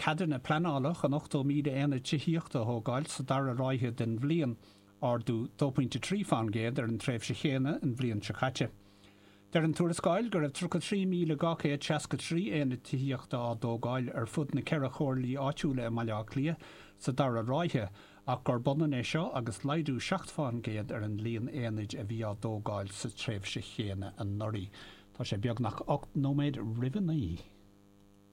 ceadanna pleanála chun 80,000 aonad tithíochta a thógáil sa dara ráithe den bhliain, ardú 2.3 fán gcéad ar an tréimhse chéanna an bhliain seo caite. Deir an tuarascáil go raibh 33,263 aonad tithíochta á dtógáil ar fud na ceithre chomhairlí áitiúla i mBaile Átha Cliath sa dara ráithe ach gurb ionann é seo agus laghdú 7 fán gcéad ar an líon aonaid a bhí á dtógáil sa tréimhse chéanna anuraidh. Tá sé beagnach 8 nóiméad roimh a 9.